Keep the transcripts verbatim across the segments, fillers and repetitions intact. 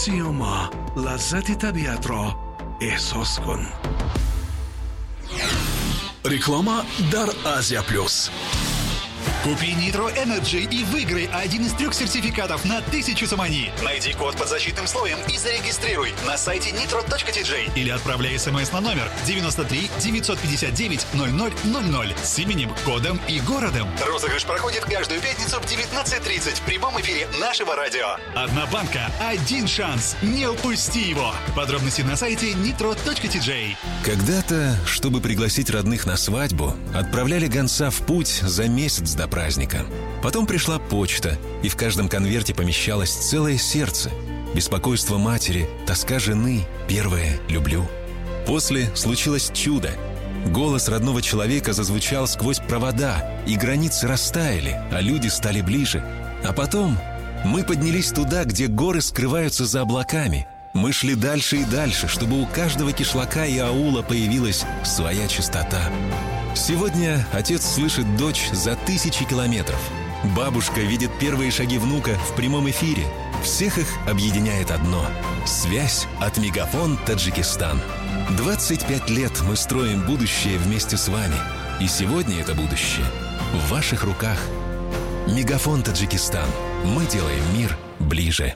Сиёма, лаззати табиатро эҳсос кун. Реклама дар Азия Плюс. Купи Nitro Energy и выиграй один из трех сертификатов на тысячу сомони. Найди код под защитным слоем и зарегистрируй на сайте nitro точка T J или отправляй смс на номер девяносто три девятьсот пятьдесят девять ноль ноль ноль ноль с именем, кодом и городом. Розыгрыш проходит каждую пятницу в девятнадцать тридцать в прямом эфире нашего радио. Одна банка, один шанс. Не упусти его. Подробности на сайте nitro точка T J. Когда-то, чтобы пригласить родных на свадьбу, отправляли гонца в путь за месяц до праздника. Потом пришла почта, и в каждом конверте помещалось целое сердце. Беспокойство матери, тоска жены, первое «люблю». После случилось чудо. Голос родного человека зазвучал сквозь провода, и границы растаяли, а люди стали ближе. А потом мы поднялись туда, где горы скрываются за облаками. Мы шли дальше и дальше, чтобы у каждого кишлака и аула появилась своя частота. Сегодня отец слышит дочь за тысячи километров. Бабушка видит первые шаги внука в прямом эфире. Всех их объединяет одно – связь от Мегафон Таджикистан. двадцать пять лет мы строим будущее вместе с вами. И сегодня это будущее в ваших руках. Мегафон Таджикистан. Мы делаем мир ближе.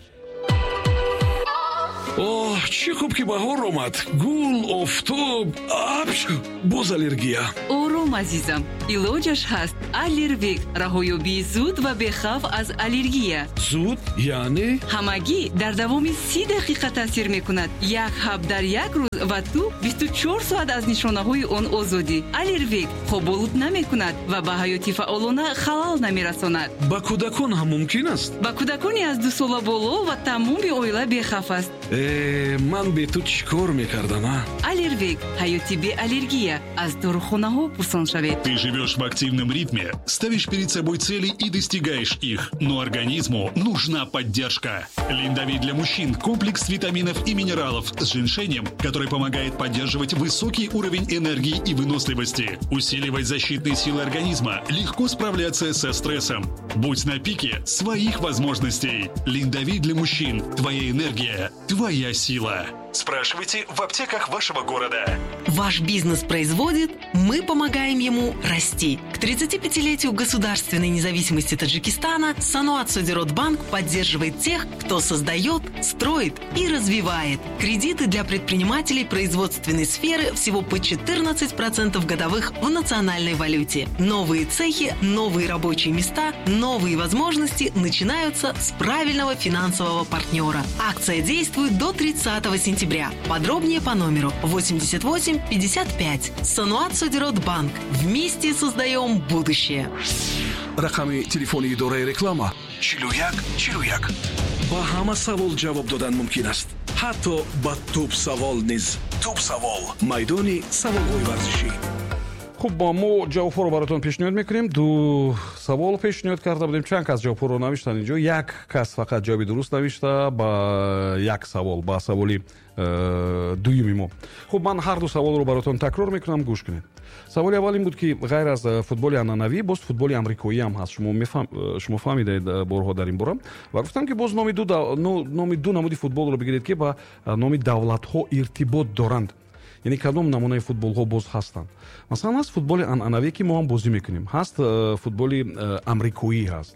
Оҳ, чӣ хуб, ки баҳор омад! Гул, офтоб, апш, боз аллергия. Ором, азизам, илоҷаш ҳаст. Аллервик — раҳоёбии зуд ва бехавф аз аллергия. Зуд яъне? Ҳамагӣ дар давоми си дақиқа таъсир мекунад. Як ҳаб дар як рӯз ва ту бисту чор соат аз нишонаҳои он озодӣ. Аллервик хоболуд намекунад ва ба ҳаёти фаъолона халал намерасонад. Ба кӯдакон ҳам мумкин аст? Ба кӯдакони аз дусола боло ва тамоми оила бехавф аст. Э, ман бе ту чӣ кор мекардам, а? Аллервик — ҳаёти беаллергия. Аз дорухонаҳо пурсон шавед. Ты живешь в активном ритме, ставишь перед собой цели и достигаешь их. Но организму нужна поддержка. Линдовит для мужчин – комплекс витаминов и минералов с женьшенем, который помогает поддерживать высокий уровень энергии и выносливости, усиливать защитные силы организма, легко справляться со стрессом. Будь на пике своих возможностей. Линдовит для мужчин. Твоя энергия, твоя сила. Спрашивайте в аптеках вашего города. Ваш бизнес производит, мы помогаем ему расти. К тридцатипятилетию государственной независимости Таджикистана Саноат Содирот Банк поддерживает тех, кто создает, строит и развивает. Кредиты для предпринимателей производственной сферы всего по четырнадцать процентов годовых в национальной валюте. Новые цехи, новые рабочие места, новые возможности начинаются с правильного финансового партнера. Акция действует до тридцатого сентября. Подробнее по номеру восемьдесят восемь пятьдесят пять. Саноат Содирот Банк. Вместе создаем будущее. Рақами телефони идораи реклама чилу як чилу як. Ба ҳама савол ҷавоб додан мумкин аст, ҳатто ба туп савол низ. Туп савол — майдони саволҳои варзишӣ. Хуб, мо ҷавобҳоро бароятон пешниҳод мекунем. Ду савол пешниҳод карда будем. Чанд кас ҷавобҳоро навиштанд инҷо. Як кас фақат ҷавоби дуруст навишта ба як савол, ба саволи э, дуюми мо. Хуб, ман ҳар ду саволро бароятон такрор мекунам, гӯш кунед. Саволи аввал ин буд, ки ғайр аз э, футболи анъанавӣ боз футболи амрикоӣ ҳам ҳаст. Шумо э, шумо фаҳмидаед борҳо дар ин бора ва гуфтам, ки боз номи номи ду намуди футболро бигиред, ки ба номи давлатҳо иртибот доранд, яъне кадом намунаи футболҳо боз ҳастанд. Масалан, ҳаст футболи анъанавӣ, ки мо ҳам бозӣ мекунем, ҳаст э, футболи э, амрикоӣ ҳаст.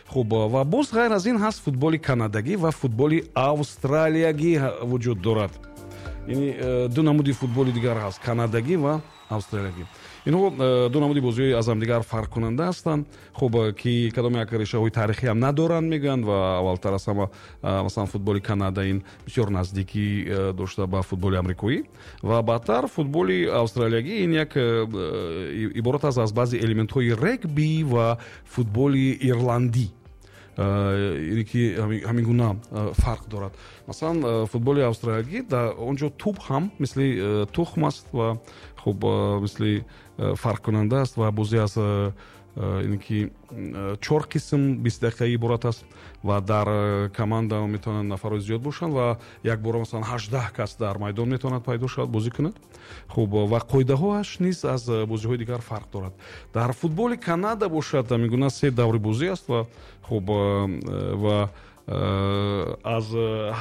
Хуб, ва боз ғайр аз ин ҳаст футболи канадагӣ ва футболи австралиягӣ вуҷуд дорад. Яъне э, ду намуди футболи дигар ҳаст: канадагӣ ва австралиягӣ. Инҳо ду намуди бозиҳои аз ҳамдигар фарқкунанда ҳастанд. Хуб, ки кадом як решаҳои таърихӣ ҳам надоранд, мегӯянд. Ва аввалтар аз ҳама, масалан, футболи Канада ин бисёр наздикӣ дошта ба футболи амрикоӣ ва баъдтар футболи австралиягӣ ин як иборат аст аз баъзе элементҳои регби ва футболи ирландӣ, ине ки ҳамин гуна фарқ дорад. Масалан, футболи австралиягӣ, дар он ҷо тӯб ҳам мисли тухм аст ва хуб, мисли фарқкунанда аст. Ва бозӣ аз ине ки чор қисм бист дақиқаӣ иборат аст ва дар команда метавонанд нафарҳои зиёд бошанд ва якбора, масалан, ҳаждаҳ кас дар майдон метавонад пайдо шавад, бозӣ кунад. Хуб, ва қоидаҳоаш низ аз бозиҳои дигар фарқ дорад. Дар футболи Канада бошад, ҳамин гуна се даври бозӣ аст ва хуб, ва Аз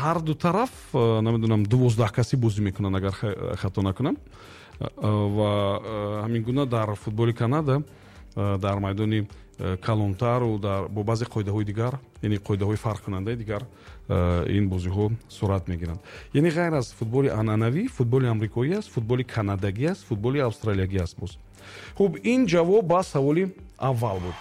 ҳар ду тараф, намедонам, дувоздаҳ касӣ бозӣ мекунанд, агар хато накунам. Ва ҳамин гуна дар футболи Канада дар майдони калонтару бо баъзе қоидаҳои дигар, яъне қоидаҳои фарқкунандаи дигар, ин бозиҳо сурат мегиранд. Яъне ғайр аз футболи анъанавӣ, футболи амрикоӣ аст, футболи канадагӣ аст, футболи австралиягӣ аст боз. Хуб, ин ҷавоб ба саволи аввал буд.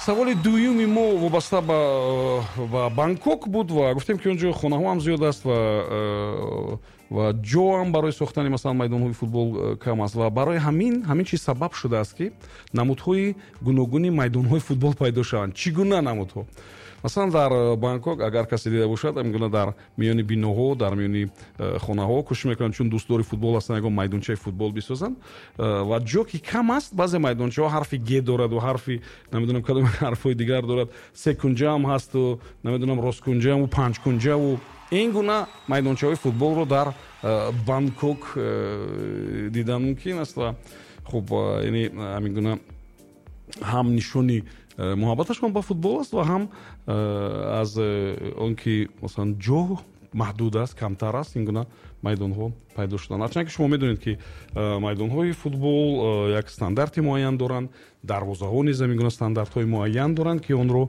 Саволи дуюми мо вобаста ба Бангкок буд ва гуфтем, ки он ҷо хонаҳо ҳам зиёд аст ва ва ҷо ҳам барои сохтани, масалан, майдонҳои футбол кам аст ва барои ҳамин ҳамин чиз сабаб шудааст, ки намудҳои гуногуни майдонҳои футбол пайдо шаванд. Чӣ гуна намудҳо? Масалан, дар Бангкок, агар касе дида бошад, ҳамин гуна дар миёни биноҳо, дар миёни хонаҳо кӯшиш мекунанд, чун дӯстдори футбол ҳастанд, ягон майдончаи футбол бисозанд ва ҷо ки кам аст, баъзе майдончаҳо ҳарфи г дорад ва ҳарфи, намедонам, кадом ҳарфҳои дигар дорад, секунҷаам ҳасту, намедонам, росткунҷаму панҷкунҷаву ин гуна майдончаҳои футболро дар Бангкок дидан мумкин аст. Ва хуб, яъне ҳамин гуна ҳам нишони муҳаббаташон ба футбол аст ва ҳам аз он ки, масалан, ҷо маҳдуд аст, камтар аст, ин гуна майдонҳо пайдо шуданд. Ҳарчанд ки шумо медонед, ки майдонҳои футбол як стандарти муайян доранд, дарвозаҳо низ ҳамин гуна стандартҳои муайян доранд, ки онро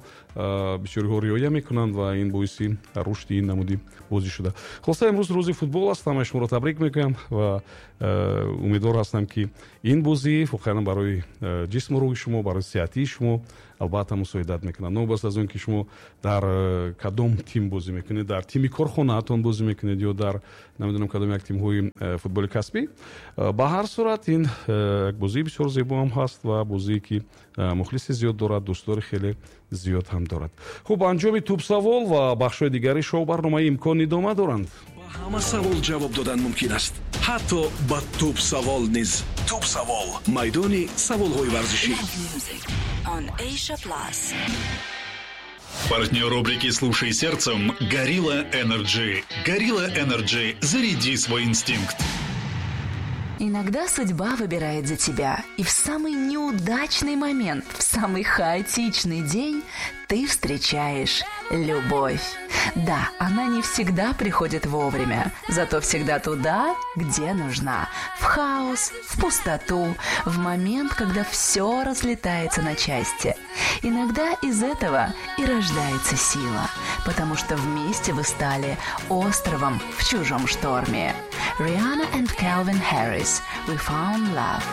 бисёриҳо риоя мекунанд ва ин боиси рушди ин намуди бозӣ шуда. Хулоса, имрӯз рӯзи футбол аст, ҳамаи шуморо табрик мекунам ва умедвор ҳастам, ки ин бозӣ воқеан барои ҷисму рӯҳи шумо, барои сиҳатии шумо албатта мусоидат мекунад. Новобаста аз он ки шумо дар кадом тим бозӣ мекунед, дар тими корхонаатон бозӣ мекунед ё дар, намедонам, кадом як тимҳои футболи касбӣ, ба ҳар сурат ин як бозии бисёр зебо ҳам ҳаст ва бозие ки мухлиси зиёд дорад, дӯстдори хеле зиёд ҳам дорад. Хуб, анҷоми тӯбсавол ва бахшҳои дигари шоу барномаи «Имкон» идома доранд. Ба ҳама савол ҷавоб додан мумкин аст, ҳатто ба тӯбсавол низ. Тӯбсавол, майдони саволҳои варзишӣ. On Asia Plus. Партнер рубрики «Слушай сердцем» «Горилла Energy». «Горилла Energy». Заряди свой инстинкт. Иногда судьба выбирает за тебя, и в самый неудачный момент, в самый хаотичный день ты встречаешь любовь. Да, она не всегда приходит вовремя, зато всегда туда, где нужна. В хаос, в пустоту, в момент, когда все разлетается на части. Иногда из этого и рождается сила, потому что вместе вы стали островом в чужом шторме. Rihanna and Calvin Harris, «We Found Love».